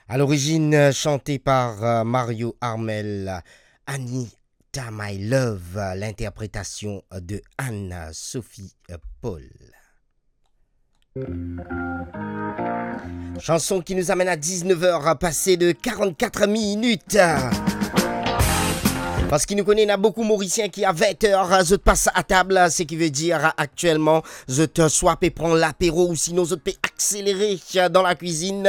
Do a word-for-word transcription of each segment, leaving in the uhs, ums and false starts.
À l'origine, euh, chanté par, euh, Mario Armel, Anita My Love, euh, l'interprétation de Anne-Sophie, euh, Paul. Chanson qui nous amène à dix-neuf heures passées de quarante-quatre minutes. Parski nou kone ena boukou Morisien ki a vin er, zot pas atab, seki vedir aktielman zot swa pe pran lapero ou sinon zot pe akselere dan lakwizinn.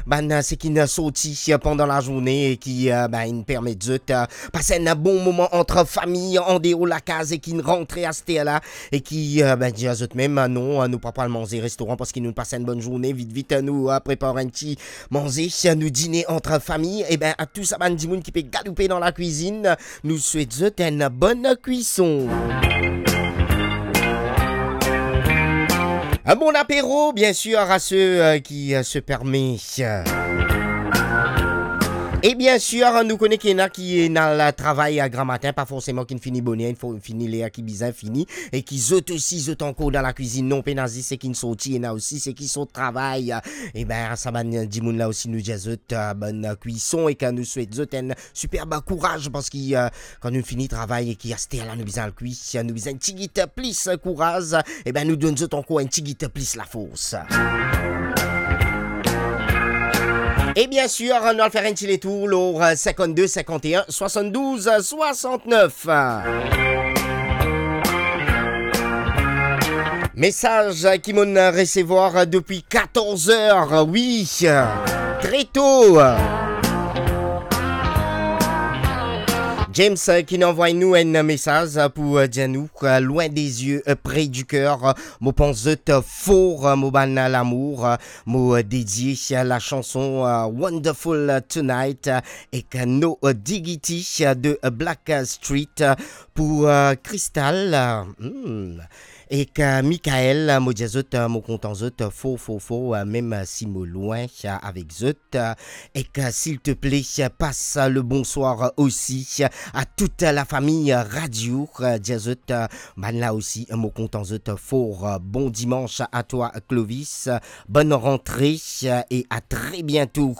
Bann seki inn sorti pandan lazourne e ki, eh, ben, inn permet zot, eh, pas enn bon moman ant fami, andeor lakaz e ki inn rantre aster la e ki, eh, ben, dir zot mem, non, nou pa pou al manze restoran parski nou pas enn bonn zourne, vit vit nou, eh, prepar enn ti manze, nou dine ant fami. E ben, a tou sa bann dimoun ki pe galoupe dan lakwizinn, nou swet zot enn bonn kwison. Un bon apéro, bien sûr, à ceux, euh, qui, euh, se permet. E bien sûr, nou kone ki ena ki ena al travay a gramatin, pa forseman ki fini boner, fini ler ki bizin fini, e ki zot osi, zot ankor dan lakwizinn, non pena zis seki sorti, ena osi seki sot travay. E ben, sa bann dimoun la osi, nou dir zot, eh, bonn kwison e ki nou swet zot enn siperb kouraz parski, eh, kan nou fini travay e ki aster la nou bizin al kwi, nou bizin tigit plis kouraz, e ben, nou donn zot ankor enn tigit plis lafors. E bien sûr, nou al fer enn ti letour lor, eh, cinquante-deux cinquante et un soixante-douze soixante-neuf. Mesaz ki mo'nn resevwar depi quatorze heures, wi, très tôt. James, eh, ki inn anvway nou enn mesaz pou, eh, dir nou, eh, loin des yeux, eh, près du cœur, eh, mo pans zot, eh, for, eh, mo bann lamour, eh, mo, eh, dedie, eh, la chanson, eh, Wonderful Tonight, eh, ek No Diggity, eh, de, eh, Black Street, eh, pou, eh, Crystal, eh, hmm, ek, eh, Michael, eh, mo dir zot, eh, mo kontan zot, eh, for, for, for, eh, mem, eh, si mo loin, eh, avek zot, eh, ek, eh, s'il te plaît, eh, passe, eh, le bonsoir, eh, aussi, eh, à toute la famille, eh, radio, eh, dir zot, eh, bann la osi, eh, mo kontan zot, eh, for, eh, bon dimanche à toi, Clovis, eh, bonne rentrée, eh, et à très bientôt.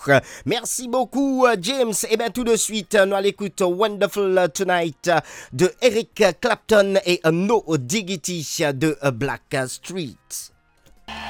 Merci beaucoup, eh, James. E ben, tout de suite, eh, nou al ekout Wonderful Tonight, eh, de Eric Clapton et, eh, No Diggity, eh, de, eh, Black Street.